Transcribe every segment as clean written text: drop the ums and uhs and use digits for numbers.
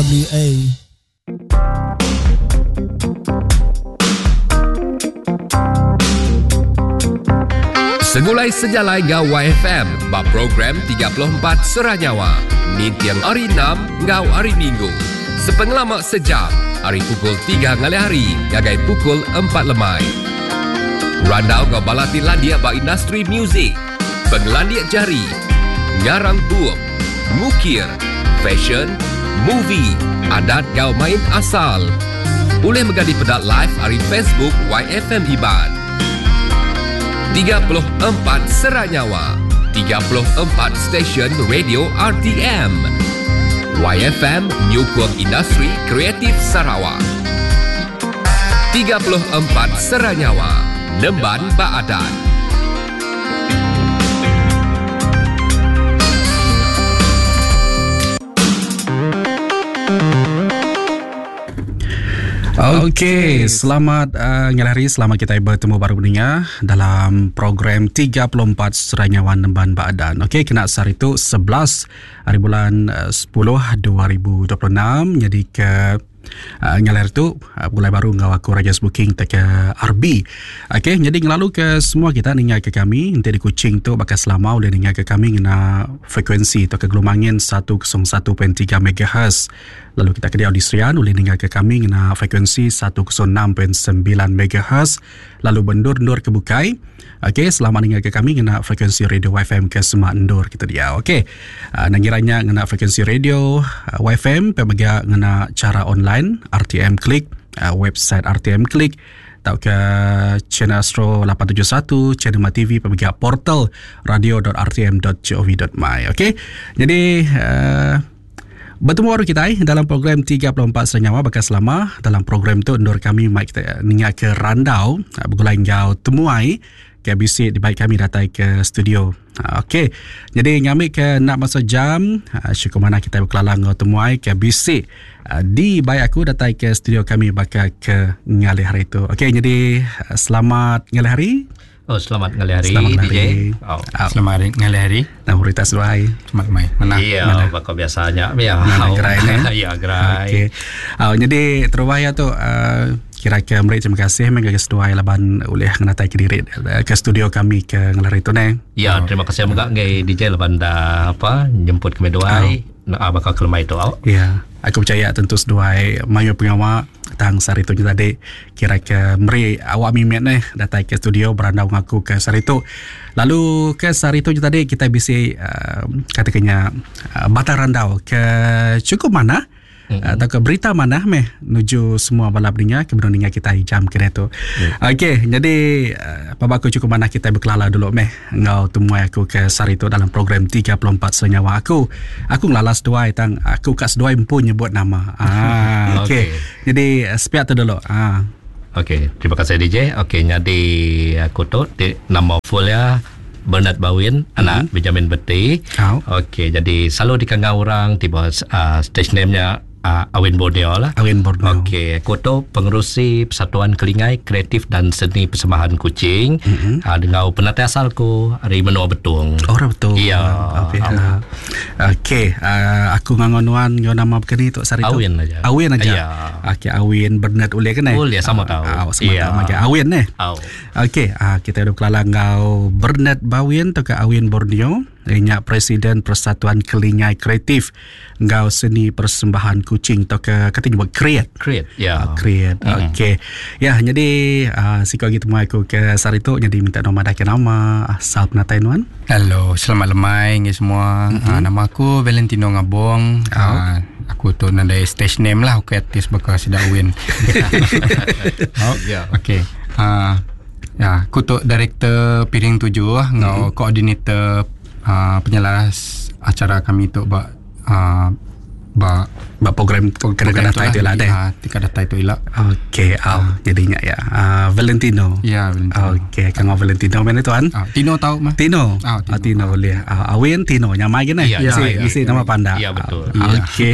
WA. Segulai sejalai enggau YFM ba program 34 Sera Nyawa ninting hari Enam enggau hari Minggu sepengelama sejam ari pukul 3 ngalih hari ngagai pukul 4 lemai. Randau enggau bala ti landik ba industri muzik, pengelandik jari, ngarang bup, ngukir, fashion, movie, adat enggau main asal. Ulih mega dipeda live ari Facebook YFM Iban. 34 Sera Nyawa, 34 stesen radio RTM. YFM nyukung industri kreatif Sarawak. 34 Sera Nyawa, nemban ba adat. Okey, selamat uh, ngalih hari, selamat kita bertemu baru mendengar dalam program 34 Serai Nyawa Nemban Baadan. Okey, kena sehari tu 11 hari bulan 10 2026 jadi ke Uh, ngalir tu uh, mulai baru enggau aku Rajas Booking te ke RB. Okey, jadi ngelalu ke semua kita ninga ke kami enti di Kuching tu baka selama ulih ninga ke kami ngena frekuensi tauka gelombang angin 101.3 MHz. Lalu kita ke diau di Serian ulih ninga ke kami ngena frekuensi 106.9 MHz. Lalu ba endur-endur ke bukai, okey selamat ninga ke kami ngena frekuensi radio YFM ke semak endur kita diau. Okey. Uh, nang ngira nya ngena frekuensi radio uh, YFM pe mega ngena cara online RTM Click, uh, website RTM Click tauka channel Astro 871, channel Ma TV pe mega portal radio.rtm.gov.my. Okey. Jadi uh, Betemu baru kitai dalam program 34 Senyawa baka selama dalam program tu endur kami mai kita ninga ke randau ah, begulai enggau temuai ke bisi dibai kami datai ke studio. Ah, okey. Jadi ngambi ke nak masa jam ah, syukur manah kitai bekelala enggau temuai ke bisi dibai aku datai ke studio kami baka ke ngalih hari tu. Okey, jadi selamat ngalih hari. Oh, selamat ngalih hari Selamat ngalih DJ. hari. Oh. Oh. Selamat hari, ngalih hari. Nama berita seduai. Selamat mai. Mana? Iya, baka biasanya. Ya. Mana gerai ni? Ya, gerai. Okey. Oh, jadi terubah ya tu uh, kira-kira meri terima kasih meh ngagai seduai laban ulih ngenatai ke diri eh, ke studio kami ke ngelari tu ne. Ya, terima kasih mega ngai DJ laban dah apa jemput kami duai. Nah, baka kelemai tu. Oh. Ya, aku percaya tentu seduai mayuh pengawa tang sehari tu tadi kira ke meri awak mimit neh datai ke studio berandau dengan aku ke sehari tu. Lalu ke sehari tu tadi kita bisi uh, katakannya uh, batang randau ke cukup mana mm-hmm. atau ke berita mana meh nuju semua bala pendengar ke benung ninga kita jam kena tu. Mm. Okey, jadi uh, apa aku cukup mana kita berkelala dulu meh enggau temuai aku ke sehari tu dalam program 34 Senyawa aku. Aku ngelalas seduai tang aku kat seduai empu nyebut nama. Ah, okey. Okey. Jadi sepiak tu dulu. Ah. Okey, terima kasih DJ. Okey, jadi aku tu di, nama full ya Bernard Bawin, anak Benjamin Beti. Oh. Okey, jadi selalu dikangau orang tiba uh, stage name-nya uh, Awin Borneo lah. Awin Borneo. Okey, aku tu pengerusi Persatuan Kelingai Kreatif dan Seni Persembahan Kuching. Mm-hmm. Uh, dengan penatai asalku dari Menua Betung. Orang betul. Ya. Okey. Ah. Okey, uh, aku ngangonuan ngau nama begini tu sehari tu. Awin aja. Awin aja. Ya. Okey, Awin Bernard ulih kan eh? Ulih, sama tahu. Ah, sama Ya. tahu. Okey, Awin eh. Aw. Okey, ah, kita udah kelala ngau Bernard Bawin atau ke Awin Borneo, inya Presiden Persatuan Kelingai Kreatif ngau Seni Persembahan Kuching atau ke katanya buat create. Create, ya. Ah, create. Mm. Okey. Ya, jadi uh, siko gitu mai aku ke sehari tu jadi minta nama dah ke nama asal penatai nuan. Hello, selamat lemai ngi semua. Mm-hmm. Uh, nama aku Valentino Ngabong. Oh. Uh, aku tu nandai stage name lah aku artis bakal sidak win. oh, Ya. Okey. Uh, ya, aku tu director Piring Tujuh lah, ngau mm-hmm. koordinator uh, penyelaras acara kami tu ba uh, ba Ba program kena datai tu lah deh. Ah, tika datai tu ila. Okey, au jadinya ya. Uh, Valentino. Ya, Valentino. Okey, kang Valentino mana tuan? Ah, Tino tahu mah. Tino. Ah, Ah, Tino. Tino boleh. Ah, Awin Tino nyamai gini. Ya, Mesti ya, mesti ya. nama pandak. Ya, betul. Ah, Okey.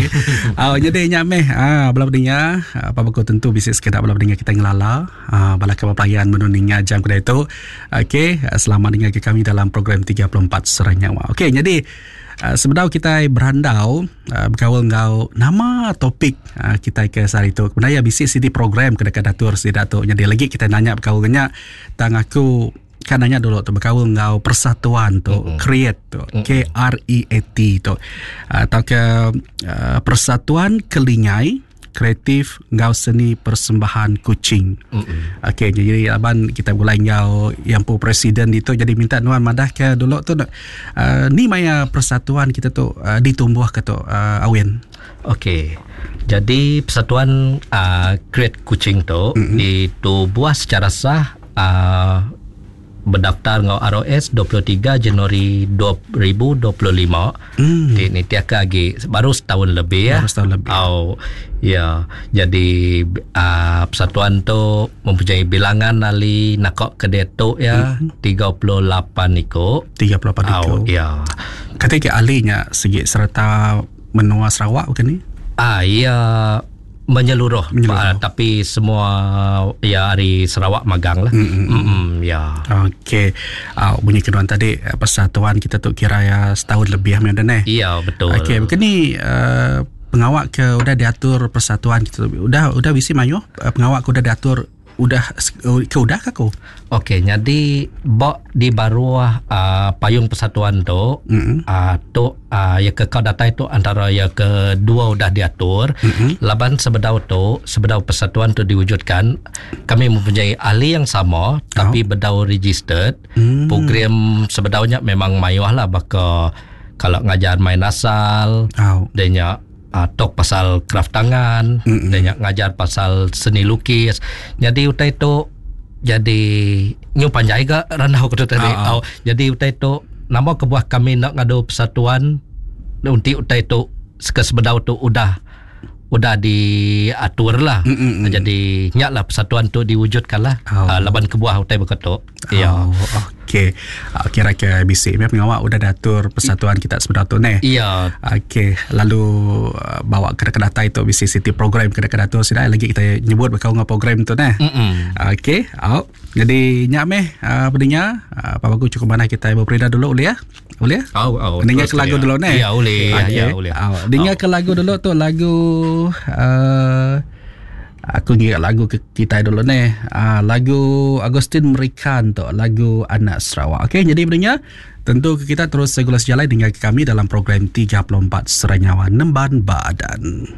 Ah, jadi nyameh ah bala pendengar, apa beku tentu bisi sekedar bala pendengar kita ngelala, ah bala ke pelayan menuninga jam kedai itu. Okey, selamat dengar ke kami dalam program 34 Serai Nyawa. Okey, jadi Sebedau kitai berandau bekaul enggau nama topik kitai ke sehari tu. Kebenar iya bisi siti program ke deka diatur sida tu. Nyadi lagi kitai nanya bekaul enggau nya tang aku ka nanya dulu tu bekaul enggau persatuan tu mm-hmm. create tu mm-hmm. K R E A T tu tauka Persatuan Kelingai Kreatif enggau Seni Persembahan Kuching. Mm-hmm. Okey, jadi laban kita begulai enggau yang pu presiden ditu jadi minta nuan madah ke dulu tu ni maya persatuan kita tu ditumbuh ke tu Awin. Okey. Jadi persatuan Create Kuching tu mm-hmm. ditubuh secara sah bedaftar enggau ROS 23 Januari 2025. Ti nitihka agi baru setahun lebih ya. Baru setahun lebih. Au ya. Jadi persatuan tu mempunyai bilangan ahli naka ke diatu ya 38 iku. 38 iku. Au ya. Kati ke ahli nya sigi sereta menua Sarawak bukan ni? Ah ya. Menyeluruh, menyeluruh. Tapi semua ya ari Sarawak magang lah. Mm-hmm. Ya. Okey. Bunyi kenuan tadi persatuan kita tu kira ya setahun lebih dah neh. Ya, betul. Okey, begini pengawak ke udah diatur persatuan kita tu udah udah bisi mayuh pengawak ke udah diatur udah ke udah ka ku? Okey, jadi ba di baruh payung persatuan tu mm-hmm. Tu ya ke kau datai tu antara ya ke dua udah diatur mm-hmm. Laban sebedau tu, sebedau persatuan tu diwujudkan, kami mempunyai ahli yang sama tapi bedau registered. Program sebedaunya memang mayuh lah baka kalau ngajar main asal, dia tok pasal kraft tangan, dia ngajar pasal seni lukis. Jadi utai tu jadi nyu panjai ga randau ku tu tadi. Oh, jadi utai tu nama kebuah kami nak ngadu persatuan untuk utai tu ke sebedau tu udah udah diatur lah. Jadi nyak lah persatuan tu diwujudkan lah. Laban kebuah utai beketu. Ya. Okey. Kira ke bisi memang pengawak udah diatur persatuan kita sebedau tu neh. Ya. Okey, lalu bawa ke datai tu bisi siti program ke diatur sida lagi kita nyebut bekau ngau program tu neh. Okey, au. Jadi nyak meh pendengar, apa bagus cukup manah kita berperida dulu boleh ya? Boleh? Au, au. Dengar ke lagu dulu neh. Ya, boleh. Okay. Ya, boleh. Dengar ke lagu dulu tu lagu aku ngira lagu ke kita dulu neh. Lagu Agustin Merikan tu, lagu Anak Sarawak. Okey, jadi pendengar, tentu kita terus segula sejalai dengan kami dalam program 34 Serai Nyawa Nemban Badan.